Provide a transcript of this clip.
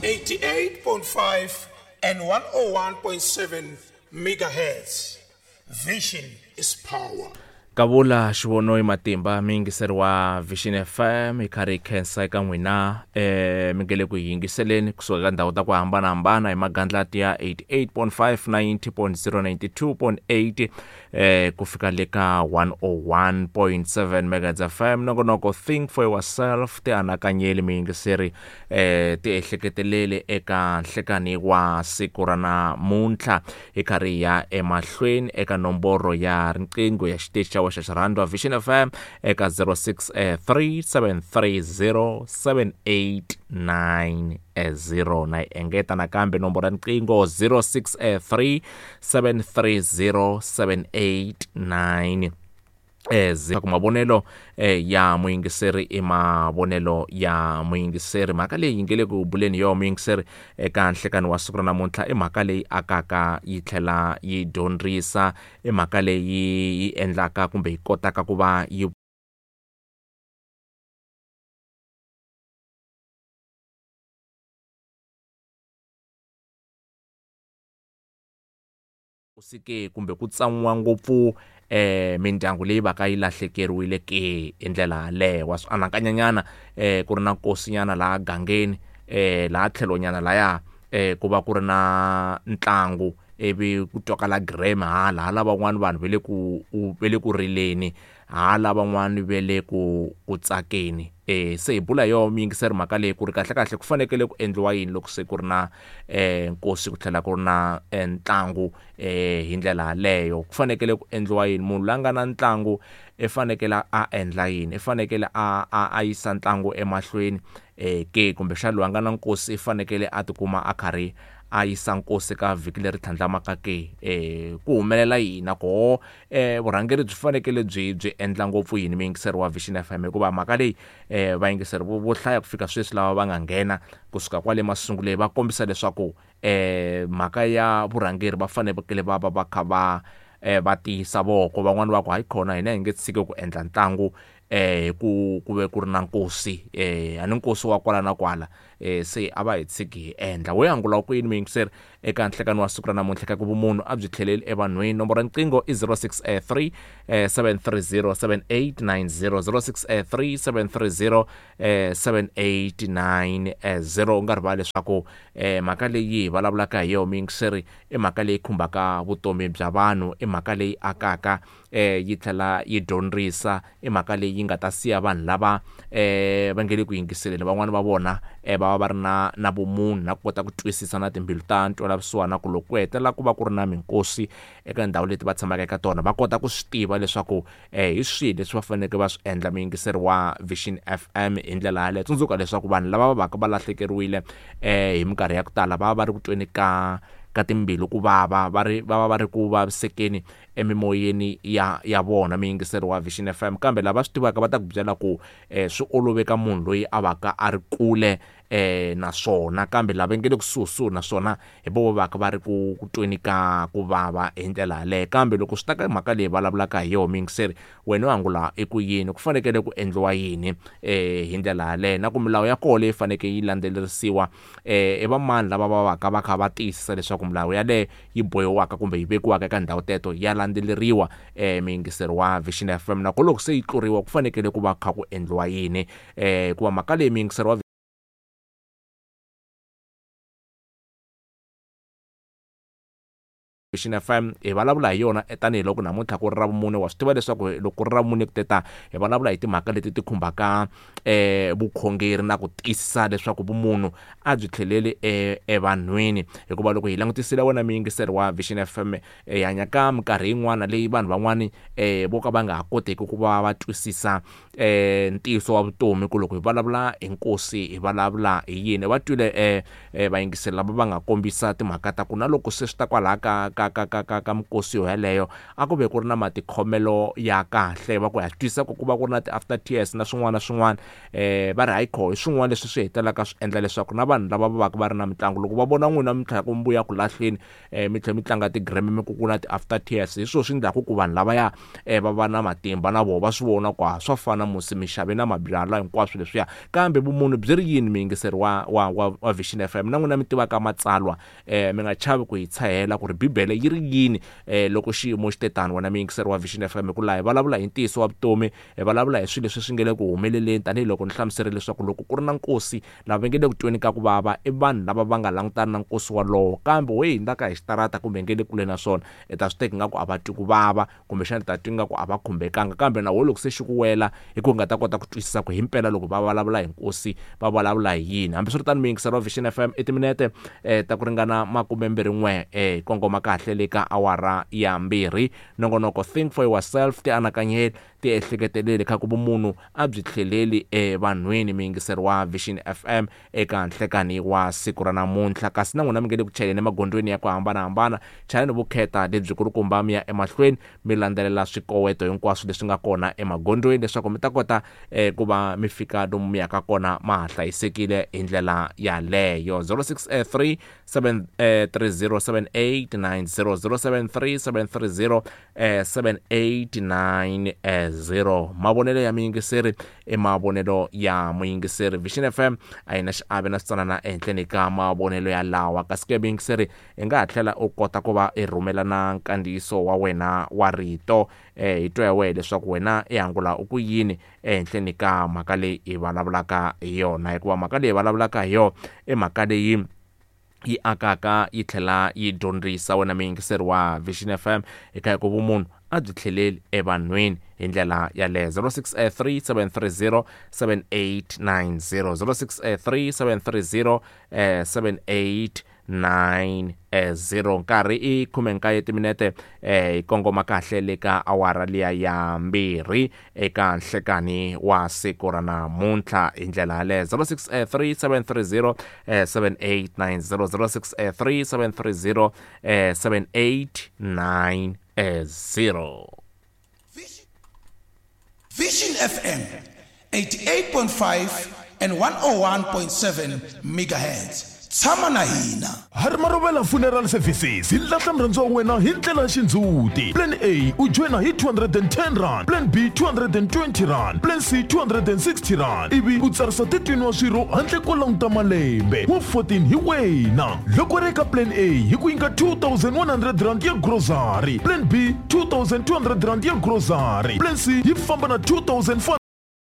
88.5 and 101.7 megahertz. Vision is power. Kavula xivono i matimba mi yingiseri wa Vision FM hi karhi hi khensa eka n'wina mi nge le ku yingiseleni kusuka ka ndhawu ta ku hambanahambana hi magandlati ya 88.5 90.0 92.8 ku fika le ka 101.7 megahertz FM. Nongonoko Think for Yourself, ti anakanyeli miyingiseri, ti ehleketeleli eka nhlekani wa siku ra namuntlha. Hi karhi hi ya emahlweni eka nomboro ya riqingho ya xiteji xa wexa xirhandwa Vision FM eka 0637307890 na yi engeta nakambe nomboro ya riqingho 0637307890. Ku mavonelo ya muyingiseri i mavonelo ya muyingiseri. Mhaka leyi yi nge le ku buleni yo muyingiseri eka nhlekani wa siku ra namuntlha i mhaka leyi akaka yi tlhela yi dyondzisa, i mhaka leyi yi endlaka kumbe yi kotaka ku va yi ke kumbe ku tsan'wiwa ngopfu mindyangu leyi va ka yi lahlekeriwile ke hi ndlela yaleyo. Wa swi anakanyanyana ku ri na nkosinyana laha gangeni, laha tlhelonyana laya ku va ku ri na ntlangu, ivi ku twakala gireme hala hala van'wani vanhu va le ku va le ku rileni, hala van'wani va le ku ku tsakeni. Se hi bula hi yoho muyingiseri mhaka leyi ku ri kahlekahle ku fanekele ku endliwa yini loko se ku ri na nkosi ku tlhela ku ri na ntlangu hi ndlela yaleyo. Ku fanekele ku endliwa yini? Munhu loyi a nga na ntlangu i fanekele a endla yini? I fanekele a yisa ntlangu emahlweni ke, kumbexana loyi a nga na nkosi i fanekele a tikuma a karhi a yisa nkosi ka vhiki leri tlhandlamaka ke? Ku humelela yini na koho vurhangeri byi fanekele byi byi endla ngopfu yini muyingiseri wa Vision FM? Hikuva mhaka leyi vayingiseri vo hlaya ku fika sweswi lava va nga nghena kusuka kwale masunguleni va kombisa leswaku mhaka ya vurhangeri va fanekele va va va kha va va tiyisa voko. Van'wani va ku hayi khona hina hi nge tshiki ku endla ntlangu hi ku ku ve ku ri na nkosi, a ni nkosi wa kwala na kwala, se a va hi tshiki hi endla. We angula ku yini muyingiseri eka nhlekani wa siku ra namuntlha ka ku vumunhu a byi tlheleli evanhwini? Nomboro ya riqingho i 063 730 7890, 063 730 7890. U nga rivali leswaku mhaka leyi hi vulavulaka hi yona muyingiseri i mhaka leyi khumbaka vutomi bya vanhu, i mhaka leyi akaka yi tlhela yi dyondzisa, i mhaka leyi yi nga ta siya vanhu lava va nge le ku yingiseleni van'wani va vona va va va ri na vumunhu na ku kota ku twisisa na timbilu ta ntwelavusiwana, ku loko ku hetelela ku va ku ri na minkosi eka ndhawu leti va tshamaka eka tona va kota ku swi tiva leswaku hi swihi leswi va faneleke va swi endla. Muyingiseri wa Vision FM hi ndlela yaleyo, tsundzuka leswaku vanhu lava va vaka va lahlekeriwile hi minkarhi ya ku tala va va va ri ku tweni ka timbilu ku vava, va ri va va va ri ku vavisekeni emimoyeni ya vona muyingiseri wa Vision FM. Kambe lava swi tivaka va ta ku byela ku swi olove ka munhu loyi a vaka a ri kule naswona, kambe lava nge le kusuhisuhi naswona hi vo va vaka va ri ku tweni ka ku vava hi ndlela yaleyo. Kambe loko swi ta ka mhaka leyi vulavulaka hi yona muyingiseri, wena u angula i ku yini? Ku fanekele ku endliwa yini hi ndlela yaleyo? Na ku milawu ya koho leyi fanekele yi landzelerisiwa, i va mani lava va vaka va kha va tiyisisa leswaku milawu yaleyo yi bohiwaka kumbe yi vekiwaka eka ndhawu teto ya landzeleriwa muyingiseri wa Vision FM? Na ku loko se yi tluriwa ku fanekele ku va kha ku endliwa yini? Hikuva mhaka leyi muyingiseri wa Vision FM hi vulavula hi yona tanihiloko namuntlha ku ri ra vumune. Wa swi tiva leswaku loko ku ri ra vumune ku teta hi vulavula hi timhaka leti ti khumbaka vukhongeri na ku tiyisisa leswaku vumunhu a byi tlheleli evanhwini. Hikuva loko hi langutisile wena muyingiseri wa Vision FM, hi hanya ka minkarhi yin'wana leyi vanhu van'wani vo ka va nga ha koteki ku va va twisisa ntiyiso wa vutomi, ku loko hi vulavula hi nkosi hi vulavula hi yini. Va twile vayingiseri lava va nga kombisa timhaka ta ku na loko se swi ta kwalaha ka ka ka ka ka ka mikosi yo yeleyo a ku ve ku ri na matikhomelo ya kahle. Va ku ha swi twisisa ku ku va ku ri na ti-after tears na swin'wana na swin'wana, va ri hayi kho hi swin'wana leswi swi hetelelaka swi endla leswaku na vanhu lava va vaka va ri na mitlangu loko va vona n'wina mi tlhela ku mi vuya ku lahleni, mi tlhela mi tlanga ti-gram mi ku ku na ti-after tears, hi swona swi endlaku ku vanhu lavaya va va na matimba na vona va swi vona ku ha swa fana musi mi xave na mabyalwa hinkwaswo leswiya. Kambe vumunhu byi ri yini, muyingiseri wa wa wa wa Vision FM na n'wina mi tivaka matsalwa, mi nga chavi ku hi tshahela ku ri Bibele yi ri yini loko xiyimo xi te tano. Wena muyingiseri wa Vision FM, hi ku laha hi vulavula hi ntiyiso wa vutomi, hi vulavula hi swilo leswi swi nge le ku humeleleni, tanihiloko ni hlamuserile leswaku loko ku ri na nkosi, lava va nge le ku tweni ka ku vava i vanhu lava va nga langutana na nkosi walowo, kambe wo hundzaka hi xitarata kumbe nge le kule na swona, i ta swi teka ingaku a va twi ku vava, kumbexana i ta twa ingaku a va khumbekanga, kambe na wena loko se xi ku wela hi ku nga ta kota ku twisisa ku himpela loko va vulavula hi nkosi va vulavula hi yini. Hambiswiritano, muyingiseri wa Vision FM, i timinete ta ku ringana makumembirhi-n'we hi kongoma kahle le ka awara ya 2. Nongonoko Think for Yourself, tianakanyeli, tiehleketeleli, kha ku vumunhu a byi tlheleli evanhwini. Muyingiseri wa Vision FM eka nhlekani wa siku ra namuntlha, kasi na n'wina mi nge le ku chayeleni emagondzweni ya ku hambanahambana, chayelani vukheta lebyi kulukumba mi ya emahlweni mi landzelela swikoweto hinkwaswo leswi nga kona emagondzweni leswaku mi ta kota ku va mi fika lomu mi yaka kona ma ha hlayisekile hi ndlela yaleyo. 063 730 7890, 073 730 7890. Mavonelo ya muyingiseri i mavonelo ya muyingiseri. Vision FM a yi na xiave na switsanana ehenhleni ka mavonelo ya lawa. Kasi ke muyingiseri, i nga ha tlhela u kota ku va i rhumela na nkandziyiso wa wena wa rito, hi twa hi wehe leswaku wena i angula u ku yini ehenhleni ka mhaka leyi hi vulavulaka hi yona, hikuva mhaka leyi hi vulavulaka hi yona i mhaka leyi yi akaka yi tlhela yi dyondzisa. Wena muyingiseri wa Vision FM, eka hi ku vumunhu a byi tlheleli evanhwini hi ndlela yaleyo. 063 730 7890, 063 730 7890. Nkarhi i 19 timinete, hi kongoma kahle le ka awara liya ya 2 eka nhlekani wa siku ra namuntlha hi ndlela yaleyo. 063 730 7890, 063 730 7890. Vision FM 88.5 and 101.7 megahertz. Tshama na hina. Harimarovela Funeral Services hi lahla murhandziwa wa wena hi ndlela ya xindzhuti. Plan A u joyina hi 210 rand, Plan B 220 rand, Plan C 260 rand, ivi u tsarisa 13 wa swirho handle ko languta malembe. Wa 14 hi wena. Loko ri eka Plan A hi ku nyika 2100 rand ya grocery, Plan B 2200 rand ya grocery, Plan C yi famba na 2400.